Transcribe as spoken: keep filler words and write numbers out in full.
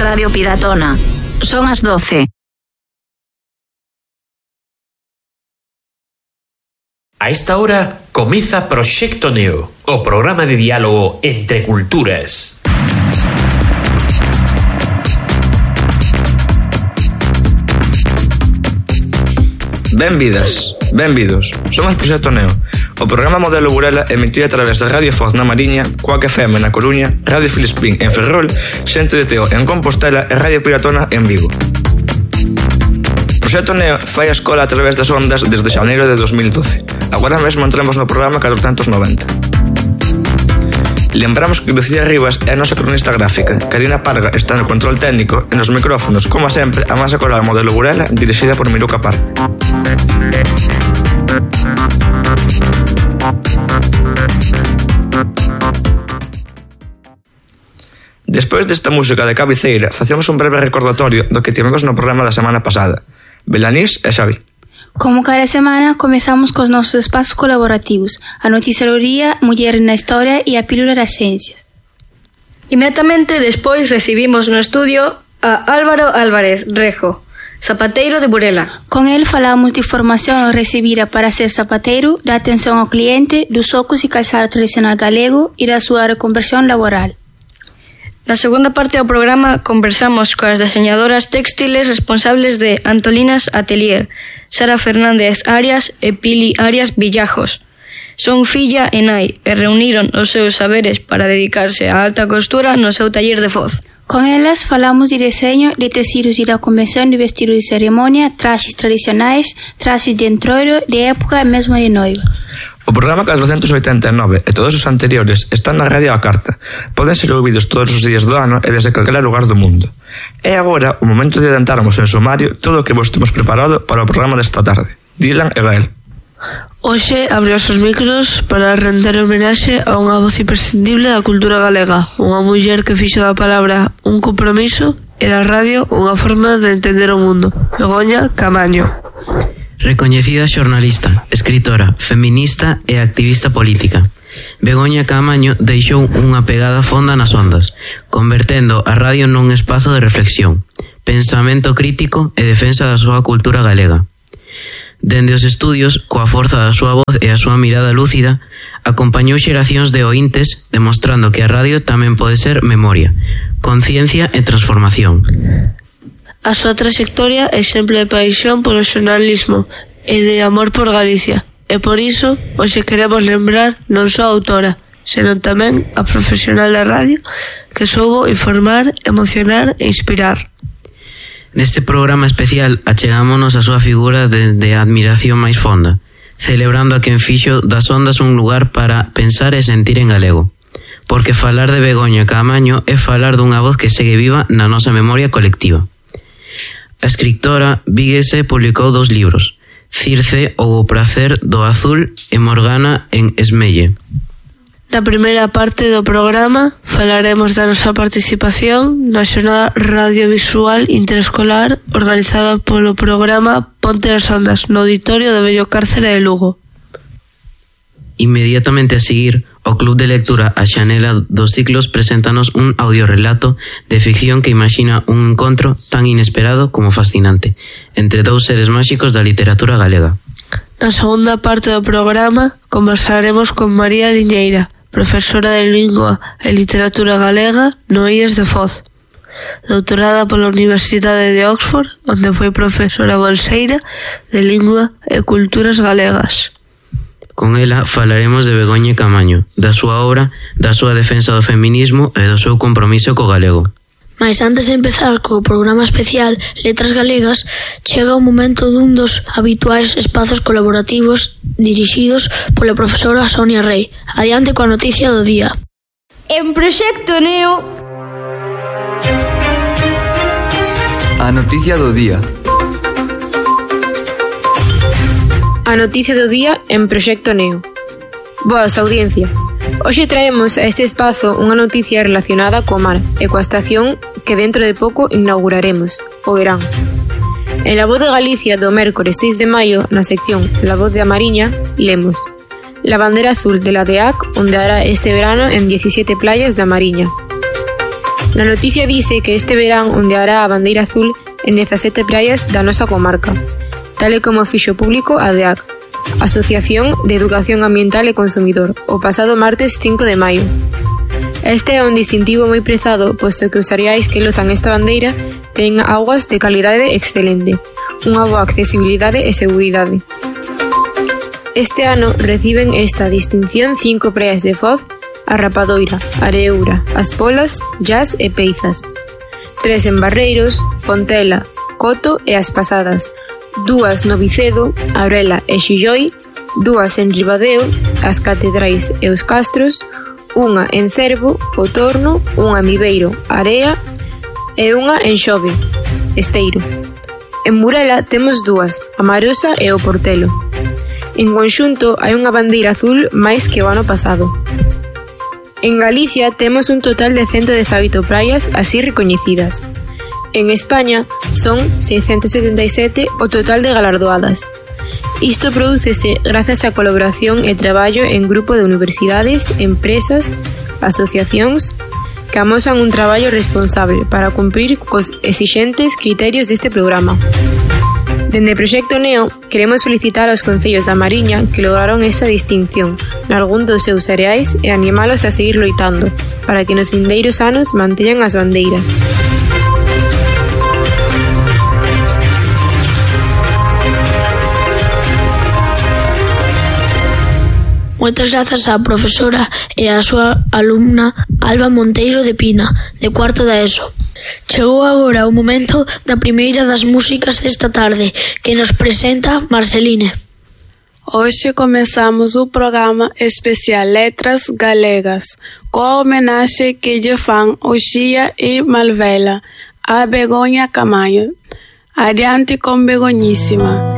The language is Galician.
Radio Piratona. Son as doce. A esta hora comeza Proxecto Neo, o programa de diálogo entre culturas. Benvidas, benvidos. Somos Proxecto Neo, o programa modelo Burela emitido a través de Radio Foz na Mariña, Quack F M na Coruña, Radio Filispín en Ferrol, Xente de Teo en Compostela e Radio Piratona en Vigo. Proxecto Neo fai a escola a través das ondas desde xaneiro de dos mil doce. Agora mesmo entramos no programa catrocentos noventa. Lembramos que Lucía Rivas é a nosa cronista gráfica, Karina Parga está no control técnico e nos micrófonos, como sempre, a masa coral modelo Burela dirixida por Miruca Par. Despois desta música de cabeceira, facemos un breve recordatorio do que tivemos no programa da semana pasada. Belanís e Xavi. Como cada semana, comezamos cos nosos espazos colaborativos, a noticiaría Muller na Historia e a Pílula das Ciencias. Inmediatamente despois recibimos no estudio a Álvaro Álvarez Rejo, zapateiro de Burela. Con el falamos de formación recibida para ser zapateiro, da atención ao cliente, dos socos e calzado tradicional galego e da súa reconversión laboral. Na segunda parte do programa conversamos coas deseñadoras textiles responsables de Antolinas Atelier, Sara Fernández Arias e Pili Arias Villajos. Son filla e nai e reuniron os seus saberes para dedicarse á alta costura no seu taller de Foz. Con elas falamos de deseño de tecidos e da convención de vestido de ceremonia, traxes tradicionais, traxes de entroido, de época e mesmo de noiva. O programa catrocentos oitenta e nove e todos os anteriores están na radio á carta. Poden ser ouvidos todos os días do ano e desde calquera lugar do mundo. É agora o momento de adentrarmos en sumario todo o que vos temos preparado para o programa desta tarde. Dylan e Gael. Hoxe abre os micros para render homenaxe a unha voz imprescindible da cultura galega, unha muller que fixo da palabra un compromiso e da radio unha forma de entender o mundo. Begoña Caamaño. Recoñecida xornalista, escritora, feminista e activista política, Begoña Caamaño deixou unha pegada fonda nas ondas, convertendo a radio nun espazo de reflexión, pensamento crítico e defensa da súa cultura galega. Dende os estudios, coa forza da súa voz e a súa mirada lúcida, acompañou xeracións de oíntes demostrando que a radio tamén pode ser memoria, conciencia e transformación. A súa trayectoria é exemplo de paixón polo xornalismo e de amor por Galicia. E por iso, hoxe queremos lembrar non só a autora, senón tamén a profesional da radio que soubo informar, emocionar e inspirar. Neste programa especial achegámonos a súa figura dende a admiración máis fonda, celebrando a quen fixo das ondas un lugar para pensar e sentir en galego. Porque falar de Begoña Caamaño é falar dunha voz que segue viva na nosa memoria colectiva. A escritora víguese publicou dous libros, Circe ou o prazer do azul e Morgana en Esmelle. Na primeira parte do programa falaremos da nosa participación na xornada radiovisual interescolar organizada polo programa Ponte as Ondas no auditorio do vello cárcere de Lugo. Inmediatamente a seguir, o Club de Lectura A Xanela dos Ciclos preséntanos un audiorelato de ficción que imagina un encontro tan inesperado como fascinante entre dous seres máxicos da literatura galega. Na segunda parte do programa conversaremos con María Liñeira, profesora de Lingua e Literatura Galega no I E S de Foz, doutorada pola Universidade de Oxford, onde foi profesora bolseira de Lingua e Culturas Galegas. Con ela falaremos de Begoña Caamaño, da súa obra, da súa defensa do feminismo e do seu compromiso co galego. Mais antes de empezar co programa especial Letras Galegas, chega o momento dun dos habituais espazos colaborativos dirixidos pola profesora Sonia Rey. Adiante coa noticia do día. En Proxecto Neo, a noticia do día. A noticia do día en Proxecto Neo. Boas, audiencia. Hoxe traemos a este espazo unha noticia relacionada co mar e coa estación que dentro de pouco inauguraremos, o verán. En La Voz de Galicia do mércores seis de maio, na sección La Voz de a Mariña, lemos: La bandera azul de la D E A C ondeará este verano en diecisiete playas da Mariña. Na noticia dice que este verán ondeará a bandeira azul en dezasete praias da nosa comarca, tal e como fixo público a D E A C, Asociación de Educación Ambiental e Consumidor, o pasado martes cinco de maio. Este é un distintivo moi prezado, posto que os areais que lozan esta bandeira ten augas de calidade excelente, unha boa accesibilidade e seguridade. Este ano reciben esta distinción cinco praias de Foz, a Rapadoira, Areoura, As Polas, Llas e Peizas. Tres en Barreiros, Fontela, Coto e As Pasadas. Dúas no Vicedo, Aurela e Xilloi. Dúas en Ribadeo, As Catedrais e os Castros. Unha en Cervo, O Torno, unha en Viveiro, Area e unha en Xove, Esteiro. En Burela temos dúas, a Marosa e o Portelo. En conxunto hai unha bandeira azul máis que o ano pasado. En Galicia temos un total de ciento dezaoito praias así recoñecidas. En España son seiscentos setenta e sete o total de galardoadas. Isto prodúcese grazas á colaboración e traballo en grupo de universidades, empresas, asociacións que amosan un traballo responsable para cumprir cos exixentes criterios deste programa. Dende Proxecto Neo, queremos felicitar aos concellos da Mariña que lograron esa distinción nalgún dos seus areais e animalos a seguir loitando para que nos vindeiros anos manteñan as bandeiras. Moitas grazas á profesora e á súa alumna Alba Monteiro de Pina, de cuarto da ESO. Chegou agora o momento da primeira das músicas desta tarde, que nos presenta Marceline. Hoxe comezamos o programa especial Letras Galegas, coa homenaxe que lle fan Oxía e Malvela a Begoña Caamaño. Adiante con Begoñísima.